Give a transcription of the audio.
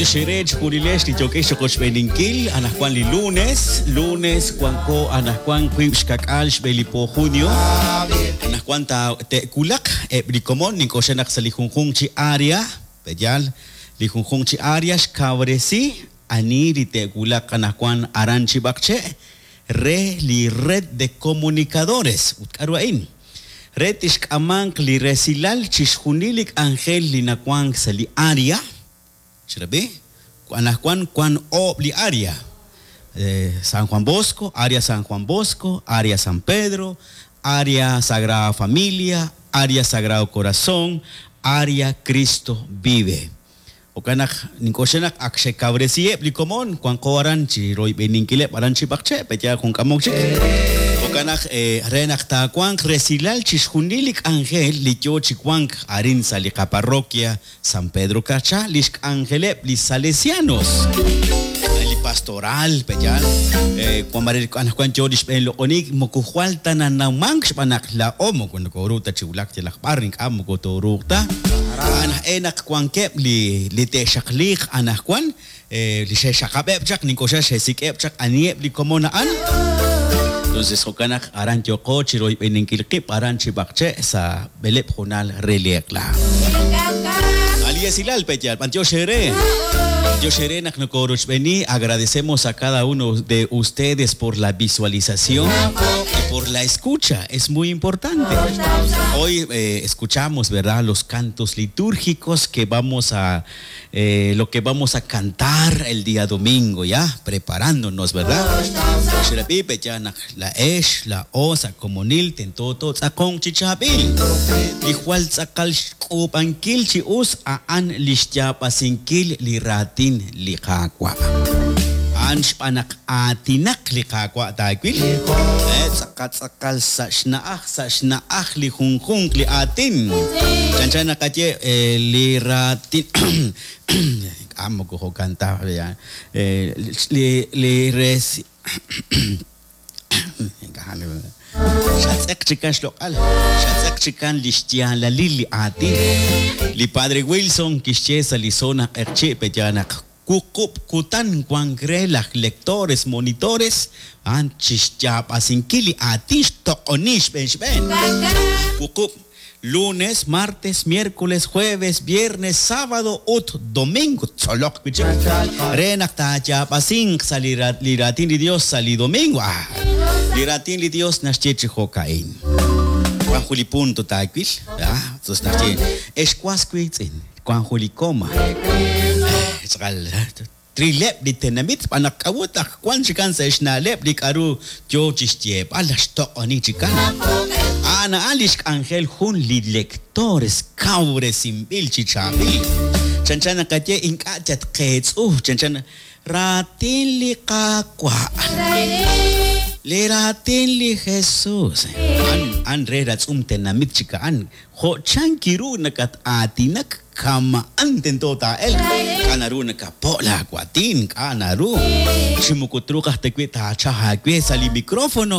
B'antiox eere chejunilex li yookex chiqochb'eeninkil anajwan li lunes, lunes wanko anajwan wiib' xka'k'aal xb'e li po junio. Anajwan ta te'wulaq eb' li komon nink'oxla naq sa' li junjunq chi area, pe'yaal, li junjunq chi area xkawresi ani li te'wulaq anajwan aran chi b'aqche' re li Red de Comunicadores. Ut k'a'ru a'in? Re tixk'amanq li resilal chixjunil li k'anjel li nawank sa' li area, Xrab'i, anajwan wan oob' li area, San Juan Bosco, Area San Juan Bosco, Area San Pedro, Area Sagrada Familia, Area Sagrado Corazón, Area Cristo Vive. Jo'kan naq nink'oxla naq ak xekawresiheb' li komon wanqo aran chi royb'eninkileb' aran chi b'aqche', pe'yaal jun k'amok chik. Jo'kan naq re naq taawanq resilal chixjunil li k'anjel li yoo chi wank arin sa' li qaparroquia San Pedro Carchá, li xk'anjeleb' li Salesianos, li pastoral, pe'yaal? Wan mare anaqwan yoo li xb'een loq'oniik moko jwal ta nanawmank xb'aan naq laa'o moko nokooru ta chi wulak yalaq b'ar, ink'a' moko tooruuq ta. A'an aj e naq wankeb' li li te'xaqliiq anaqwan Li xe'xxaqab'eb' chaq, nink'oxla xe'sik'eb' chaq aniheb' li komon a'an. Entonces jo'kan naq aran yooqo chi royb'eninkil qib' aran chi b'aqche' sa' b'eleb' hoonal re li eq'la. A' li esilal pe' yaal, b'antiox eere. B'antiox eere naq nokorochb'eeni, agradecemos a cada uno de ustedes por la visualización y por la escucha, es muy importante. Hoy escuchamos, verdad, los cantos litúrgicos que vamos a Lo que vamos a cantar el día domingo, ya, preparándonos, verdad? Xrab'i pe' yaal naq laa'ex, laa'o sa' komonil tento tootz'aqonq chi chaab'il. Li jwal tz'aqal xk'uub'ankil chi us a'an li xyaab'asinkil li raatin li Qaawa'. A'an xb'aan naq aatinaq li Qaawa' taawil, tz'aqal tz'aqal sa' xna'aj sa' xna'aj li junjunq li aatin. Chanchan naqaye li raatin ink'a' moko jo'kan ta li li resi xatz'eq chikan xloq'al, xatz'eq chikan li xyaalalil li aatin. Li Padre Wilson kixye sa' li zona Q'eqchi' pe'yaal naq Wuqub' kutan wank re laj lectores monitores a'an chi xyaab'asinkil li aatin xtoq'oni xb'een xb'een. Wuqub', lunes, martes, miércoles, jueves, viernes, sábado ut domingo ttzoloq wi' chik re naq taayaab'asinq sa' li raatin li Dios sa' li domingo. Ah, li raatin li Dios naxye chi jo'ka'in. Wan jun li punto taawil, ah, naxye, Ex was wiitz'in, Wan jun li coma. Tz'aqal trileb' li tenamit xb'aan naq k'a'ut naq wan chikan sa' xna'leb' li k'a'ru yoo chixyeeb'al laj xtoq'oni chikan. A'an a'an lix k'anjel jun li lectores kawresinb'il chi chaab'il. Chanchan naqaye ink'a' tatqeetz'u, chanchan raatin li Qaawa'. Li raatin li Jesus. A'an a'an re ratz'um tenamit chik a'an. Jo' chank ru nakat-aatinak kama'an tento taa'elq, k'a' naru nakapo' laawaatin, k'a' naru, chi moko truuq aj ta wi' taachaj aawe sa' li micrófono.